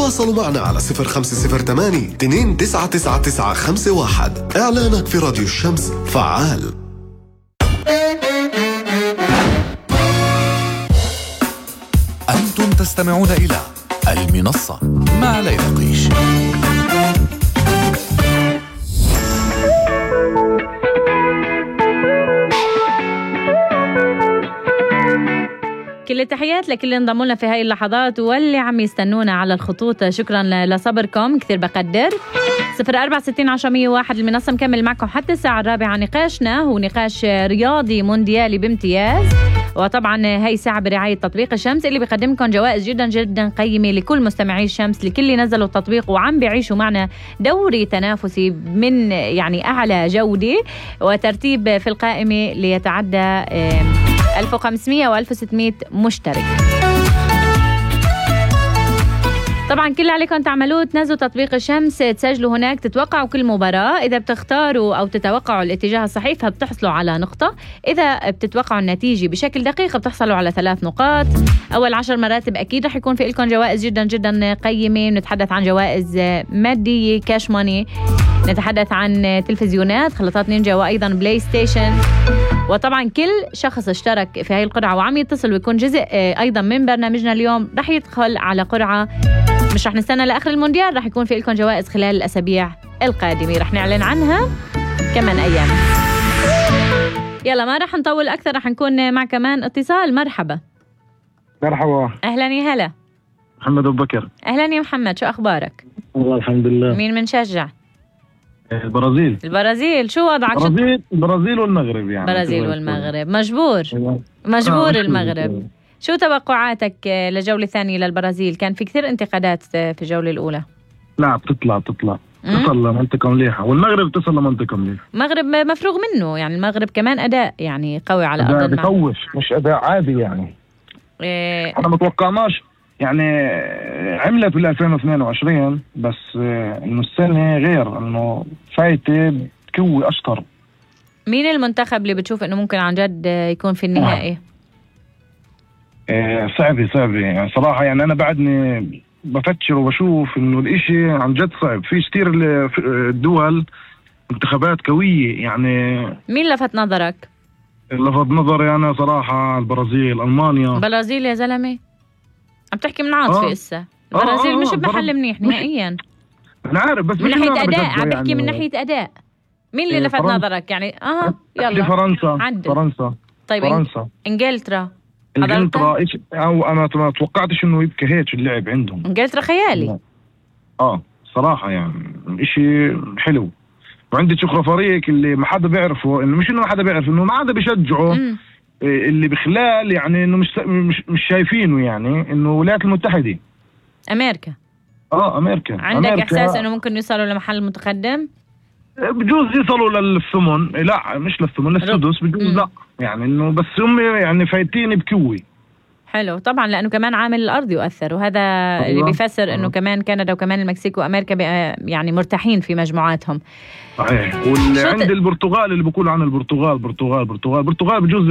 تواصلوا معنا على 0508 299951. إعلانك في راديو الشمس فعال. أنتم تستمعون إلى المنصة مع ليلى قيش. كل التحيات لكل اللي انضموا لنا في هاي اللحظات واللي عم يستنونا على الخطوط. شكرا لصبركم، كثير بقدر. 0460 المنصة مكمل معكم حتى الساعة 4. نقاشنا هو نقاش رياضي مونديالي بامتياز، وطبعا هاي ساعة برعاية تطبيق الشمس اللي بيقدمكم جوائز جدا جدا قيمة لكل مستمعي الشمس، لكل اللي نزلوا التطبيق وعم بيعيشوا معنا دوري تنافسي من يعني أعلى جودة وترتيب في القائمة ليتعدى 1500 و 1600 مشترك. طبعا كل اللي عليكم تعملوه تنزلوا تطبيق الشمس، تسجلوا هناك، تتوقعوا كل مباراة. إذا بتختاروا أو تتوقعوا الاتجاه الصحيح فبتحصلوا على نقطة، إذا بتتوقعوا النتيجة بشكل دقيق بتحصلوا على 3 نقاط. أول 10 مراتب أكيد رح يكون في لكم جوائز جدا جدا قيمة. نتحدث عن جوائز مادية كاش ماني، نتحدث عن تلفزيونات، خلطات نينجا، وأيضا بلاي ستيشن. وطبعا كل شخص اشترك في هاي القرعة وعم يتصل ويكون جزء أيضا من برنامجنا اليوم رح يدخل على قرعة. مش رح نستنى لآخر المونديال، رح يكون في لكم جوائز خلال الأسابيع القادمة، رح نعلن عنها كمان أيام. يلا ما رح نطول أكثر، رح نكون مع كمان اتصال. مرحبا. مرحبا. أهلا يا هلا. محمد أبو بكر. أهلا يا محمد، شو أخبارك؟ والله الحمد لله. مين منشجع؟ البرازيل. البرازيل، شو وضعك؟ البرازيل والمغرب يعني. البرازيل والمغرب. مجبور المغرب. شو توقعاتك للجولة الثانية للبرازيل؟ كان في كثير انتقادات في الجولة الأولى. لا بتطلع تصل لمنطقة مليحة، والمغرب تصل لمنطقة مليحة. المغرب مفروغ منه، يعني المغرب كمان أداء يعني قوي على أرض الملعب. بخوف، مش أداء عادي يعني. أنا متوقعناش يعني. عملت بال 2022 بس إنه السنة غير، إنه فايتة بقوة أشطر. مين المنتخب اللي بتشوف إنه ممكن عن جد يكون في النهائي؟ صعبة يعني صراحة. يعني أنا بعدني بفتشر وبشوف إنه الإشي عن جد صعب. في كتير الدول منتخبات قوية يعني. مين لفت نظرك؟ لفت نظري أنا صراحة البرازيل، ألمانيا. البرازيل يا زلمة، عم تحكي من عاطفة إسا. البرازيل مش بمحل منيح نهائيا. أنا عارف، بس من ناحية أداء عم بحكي يعني. من ناحية أداء مين اللي لفت نظرك يعني؟ يلا. فرنسا. طيب فرنسا. إنجلترا أو أنا ما توقعتش إنه يبقى هيك اللعب عندهم. إنجلترا خيالي. صراحة يعني إشي حلو. وعندي شكرا فريق اللي ما حدا بيعرفه، إنه مش إنه ما حدا بيعرف، إنه ما حدا بيشجعه. اللي بخلال يعني إنه مش شايفينه، يعني إنه الولايات المتحدة، أمريكا. أمريكا. عندك إحساس إنه ممكن يوصلوا لمحل متقدم؟ بجوز يصلوا للثمن، لا مش للثمن، للسدس بجوز. لا يعني إنه بس هم يعني فايتين بقوة. حلو طبعا، لأنه كمان عامل الأرض يؤثر، وهذا اللي بيفسر إنه كمان كندا وكمان المكسيك وأمريكا يعني مرتاحين في مجموعاتهم. صحيح. واللي عند البرتغال اللي بيقولوا عن البرتغال بجوز